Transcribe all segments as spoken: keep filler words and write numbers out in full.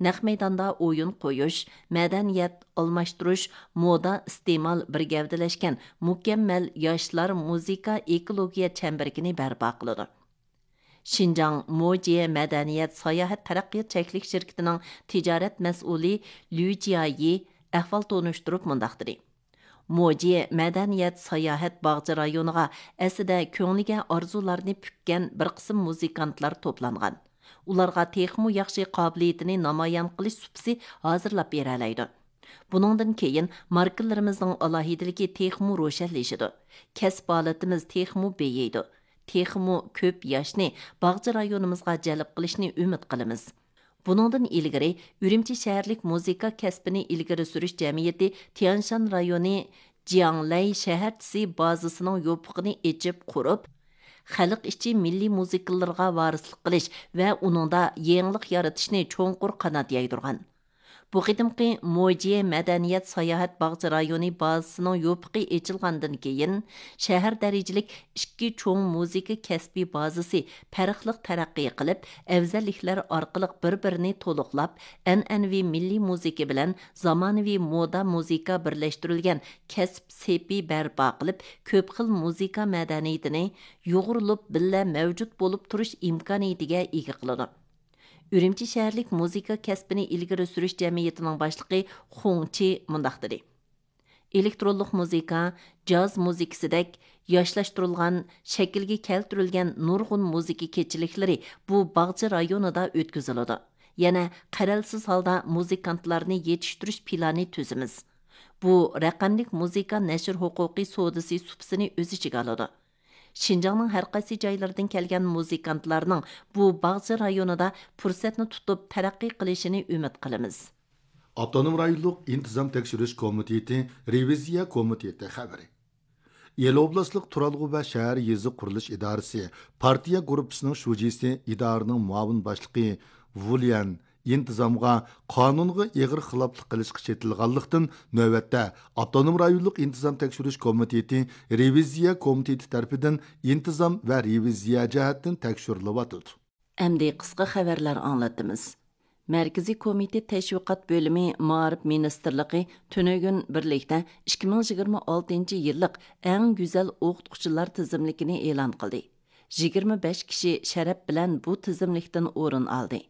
نەق مەيداندا ئويۇن قويۇش، مەدەنىيەت ئالماشتۇرۇش، مودا ئىستېمال بىر گەۋدىلەشكەن مۇكەممەل ياشلار مۇزىكا ئېكولوگىيە چەمبىرىكىنى بەرپا قىلىدۇ. شىنجاڭ موجيې مەدەنىيەت ساياھەت تەرەققىيات چەكلىك شىركىتىنىڭ تىجارەت مەسئۇلى ليۇ جيايى ئەھۋال تونۇشتۇرۇپ مۇنداق دېدى: موجيې مەدەنىيەت ساياھەت باغچە رايونىغا ئەسلىدە كۆڭلىگە ئارزۇلارنى پۈككەن بىر قىسىم مۇزىكانتلار توپلانغان. ئۇلارغا تېخىمۇ ياخشى قابىلىيىتىنى نامايان قىلىش سۇپىسى ھازىرلاپ بېرەلەيدۇ. بۇنىڭدىن كېيىن ماركىلىرىمىزنىڭ ئالاھىدىلىكى تېخىمۇ روشەنلىشىدۇ. كەسىپ ھالىتىمىز تېخىمۇ بېيىيدۇ. تېخىمۇ كۆپ ياشنى باغچە رايونىمىزغا جەلپ قىلىشنى ئۈمىد قىلىمىز. بۇنىڭدىن ئىلگىرى، ئۈرۈمچى شەھەرلىك مۇزىكا كەسپىنى ئىلگىرى سۈرۈش جەمئىيىتى تيەنشان رايونى جياڭلەي شەھەرچىسى بازىسىنىڭ يوپۇقىنى ئېچىپ قۇرۇپ، خەلق ئىچى مىللىي مۇزىكىلىرىغا ۋارىسلىق قىلىش ۋە ئۇنىڭدا يېڭىلىق يارىتىشنى چوڭقۇر قانات يايدۇرغان. بۇ قېتىمقى موجيې مەدەنىيەت ساياھەت باغچە رايونى بازىسىنىڭ يوپۇقى ئېچىلغاندىن كېيىن، شەھەر دەرىجىلىك ئىككى چوڭ مۇزىكا كەسپىي بازىسى پەرقلىق تەرەققىي قىلىپ، ئەۋزەللىكلەر ئارقىلىق بىر-بىرىنى تولۇقلاپ، ئەنئەنىۋى مىللىي مۇزىكا بىلەن زامانىۋى مودا مۇزىكا بىرلەشتۈرۈلگەن كەسىپ سېپى بەرپا قىلىپ، كۆپ خىل مۇزىكا مەدەنىيىتىنى يۇغۇرۇلۇپ بىللە مەۋجۇت بولۇپ تۇرۇش ئىمكانىيىتىگە ئىگە قىلىدۇ. ئۈرۈمچى شەھەرلىك مۇزىكا كەسپىنى ئىلگىرى سۈرۈش جەمئىيىتىنىڭ باشلىقى خۇڭ چى مۇنداق دېدى: ئېلېكترونلۇق مۇزىكا، جاز مۇزىكىسىدەك ياشلاشتۇرۇلغان، شەكىلگە كەلتۈرۈلگەن نۇرغۇن مۇزىكا كېچىلىكلىرى بۇ باغچە رايونىدا ئۆتكۈزۈلىدۇ. يەنە قەرەلسىز ھالدا مۇزىكانتلارنى يېتىشتۈرۈش پىلانى تۈزىمىز. بۇ رەقەملىك مۇزىكا نەشر ھوقۇقى سودىسى سۇپىسىنى ئۆز ئىچىگە ئالىدۇ. شىنجاڭنىڭ ھەر قايسى جايلىرىدىن كەلگەن مۇزىكانتلارنىڭ بۇ باغچە رايونىدا پۇرسەتنى تۇتۇپ تەرەققىي قىلىشىنى ئۈمىد قىلىمىز. ئاپتونوم رايونلۇق ئىنتىزام تەكشۈرۈش كومىتېتى رېۋىزىيە كومىتېتى خەۋىرى. ئىلى ئوبلاستلىق تۇرالغۇ ۋە شەھەر يېزا قۇرۇلۇش ئىدارىسى پارتىيە گۇرۇپپىسىنىڭ شۇجىسى، ئىدارىنىڭ مۇئاۋىن باشلىقى ۋۇليەن ئىنتىزامغا، قانۇنغا ئېغىر خىلاپلىق قىلىشقا چېتىلغانلىقتىن، نۆۋەتتە ئاپتونوم رايونلۇق ئىنتىزام تەكشۈرۈش كومىتېتى رېۋىزىيە كومىتېتى تەرىپىدىن ئىنتىزام ۋە رېۋىزىيە جەھەتتىن تەكشۈرۈلۈۋاتىدۇ. ئەمدى قىسقا خەۋەرلەر ئاڭلاتىمىز. مەركىزىي كومىتېت تەشۋىقات بۆلۈمى مائارىپ مىنىستىرلىقى تۈنۈگۈن بىرلىكتە ئىككى مىڭ يىگىرمە ئالتىنچى يىللىق ئەڭ گۈزەل ئوقۇتقۇچىلار تىزىملىكىنى ئېلان قىلدى. يىگىرمە بەش كىشى شەرەپ بىلەن بۇ تىزىملىكتىن ئورۇن ئالدى.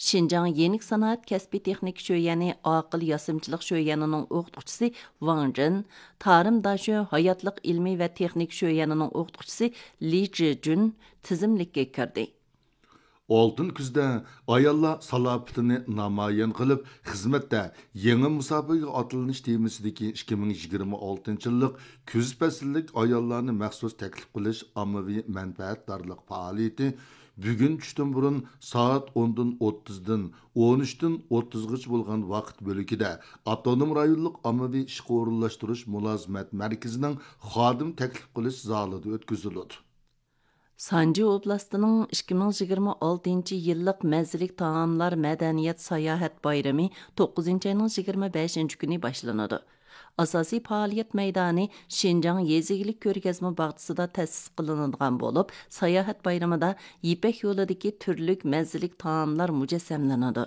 شىنجاڭ يېنىك سانائەت كەسپىي تېخنىكا شۆيەنى ئاقىل ياسىمىچىلىق شۆيەنىنىڭ ئوقۇتقۇچىسى ۋاڭ جىن، تارىم داشۆ ھاياتلىق ئىلمىي ۋە تېخنىكا شۆيەنىنىڭ ئوقۇتقۇچىسى لى جىجۈن تىزىملىككە كىردى. ئالتۇن كۈزدە ئاياللار سالاپىتىنى نامايان قىلىپ، خىزمەتتە يېڭى مۇساپىگە ئاتلىنىش تېمىسىدىكى ئىككى مىڭ يىگىرمە ئالتىنچى يىللىق كۈز پەسىللىك ئاياللارنى مەخسۇس تەكلىپ قىلىش ئاممىۋى مەنپەئەتدارلىق پائالىيىتى بۈگۈن چۈشتىن بۇرۇن سائەت ئوندىن ئوتتۇزدىن ئون ئۈچتىن ئوتتۇزغىچە بولغان ۋاقىت بۆلىكىدە ئاپتونوم رايونلۇق ئاممىۋى ئىشقا ئورۇنلاشتۇرۇش مۇلازىمەت مەركىزىنىڭ خادىم تەكلىپ قىلىش زالىدا ئۆتكۈزۈلىدۇ. سانجى ئوبلاستىنىڭ ئىككى مىڭ يىگىرمە ئالتىنچى يىللىق مەززىلىك تائاملار مەدەنىيەت ساياھەت بايرىمى توققۇزىنچى ئاينىڭ يىگىرمە بەشىنچى كۈنى باشلىنىدۇ. ئاساسىي پائالىيەت مەيدانى شىنجاڭ يېزا ئىگىلىك كۆرگەزمە باغچىسىدا تەسىس قىلىنىدىغان بولۇپ، ساياھەت بايرىمىدا يىپەك يولىدىكى تۈرلۈك مەززىلىك تائاملار مۇجەسسەملىنىدۇ.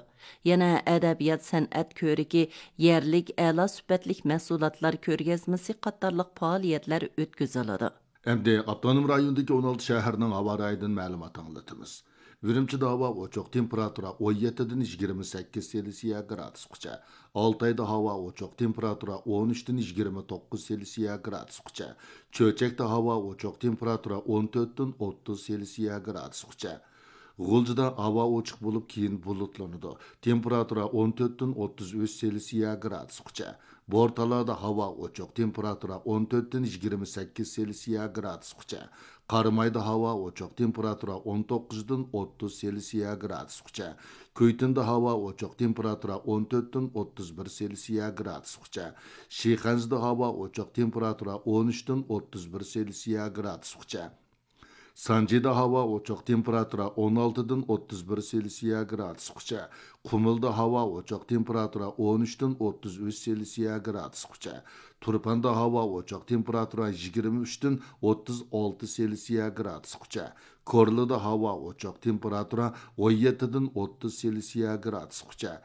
يەنە ئەدەبىيات سەنئەت كۆرىكى، يەرلىك ئەلا سۈپەتلىك مەھسۇلاتلار كۆرگەزمىسى قاتارلىق پائالىيەتلەر ئۆتكۈزۈلىدۇ. ئەمدى ئاپتونوم رايوندىكى ئون ئالتە شەھەرنىڭ ھاۋا رايىدىن مەلۇمات ئاڭلىتىمىز. ئۈرۈمچىدە ھاۋا ئوچۇق، تېمپېراتۇرا ئون يەتتىدىن يىگىرمە سەككىز سېلسىيە گرادۇسقىچە. ئالتايدا ھاۋا ئوچۇق، تېمپېراتۇرا ئون ئۈچتىن يىگىرمە توققۇز سېلسىيە گرادۇسقىچە. چۆچەكتە ھاۋا ئوچۇق، تېمپېراتۇرا ئون تۆتتىن ئوتتۇز سېلسىيە گرادۇسقىچە. غۇلجىدا ھاۋا ئوچۇق بولۇپ، كېيىن بۇلۇتلىنىدۇ. تېمپېراتۇرا ئون تۆتتىن ئوتتۇز ئۈچ سېلسىيە گرادۇسقىچە. بورتالادا ھاۋا ئوچۇق، تېمپېراتۇرا ئون تۆتتىن يىگىرمە سەككىز سېلسىيە گرادۇسقىچە. قارامايدا ھاۋا ئوچۇق، تېمپېراتۇرا ئون توققۇزدىن ئوتتۇز سېلسىيە گرادۇسقىچە. كۈيتۇندا ھاۋا ئوچۇق، تېمپېراتۇرا ئون تۆتتىن ئوتتۇز بىر سېلسىيە گرادۇسقىچە. شىخەنزىدە ھاۋا ئوچۇق، تېمپېراتۇرا ئون ئۈچتىن ئوتتۇز بىر سېلسىيە گرادۇسقىچە. سانجىدا ھاۋا ئوچۇق، تېمپېراتۇرا ئون ئالتىدىن ئوتتۇز بىر سېلسىيە گرادۇسقىچە. قۇمۇلدا ھاۋا ئوچۇق، تېمپېراتۇرا ئون ئۈچتىن ئوتتۇز ئۈچ سېلسىيە گرادۇسقىچە. تۇرپاندا ھاۋا ئوچۇق، تېمپېراتۇرا يىگىرمە ئۈچتىن ئوتتۇز ئالتە سېلسىيە گرادۇسقىچە. كورلىدا ھاۋا ئوچۇق، تېمپېراتۇرا ئون يەتتىدىن ئوتتۇز سېلسىيە گرادۇسقىچە.